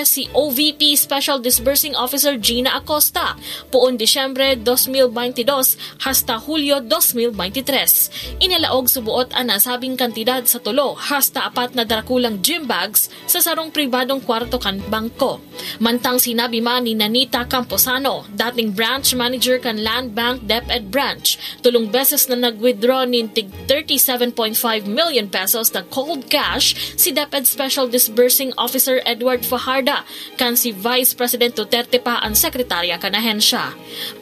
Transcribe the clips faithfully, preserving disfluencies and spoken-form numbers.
si O V P Special Disbursing Officer Gina Acosta, poon Disyembre dos mil baynte dos hasta Hulyo dos mil baynte tres. Inalaog suboot an nasabing kantidad sa tulo hasta apat na darakulang gym bags sa sarong pribadong kwarto kan bangko. Mantang sinabi man ni Nanita Camposano, dating branch manager kan Land Bank DepEd Branch, tolong beses na nag-withdraw nin tig thirty-seven point five million pesos na cold cash si DepEd Special Disbursing Officer Edward Fajarda, kan si Vice President Duterte pa an sekretarya kan ahensya.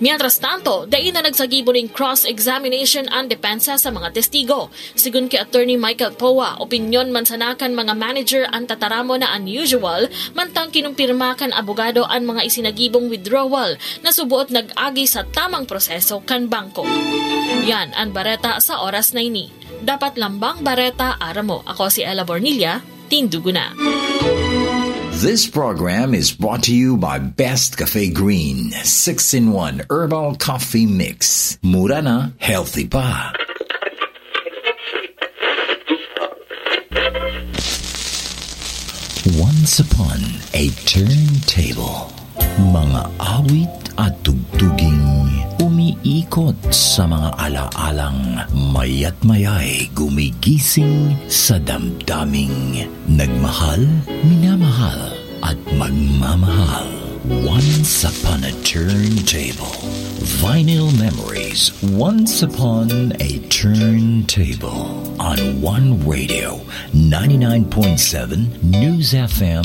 Mientras tanto, dai na nagsagibo nin cross-examination an depensa sa mga testigo. Sigon ki Attorney Michael Poa, opinyon man sana kan mga manager an tataramon na unusual, mantang kinumpirma kan abogado an mga isinagibong withdrawal na suboot nag-agi sa tamang proseso kan bangko. Yan an bareta sa oras na ini. Dapat lambang bareta, aram mo. Ako si Ella Bornilla, tindugo na. This program is brought to you by Best Cafe Green, six-in-one Herbal Coffee Mix. Mura na, healthy pa. Once upon a turntable. Mga awit at tugtuging umiikot sa mga alaalang mayat mayay gumigising sa damdaming nagmahal, minamahal, at magmamahal. Once upon a turntable. Vinyl memories. Once upon a turntable. On One Radio, ninety-nine point seven News F M,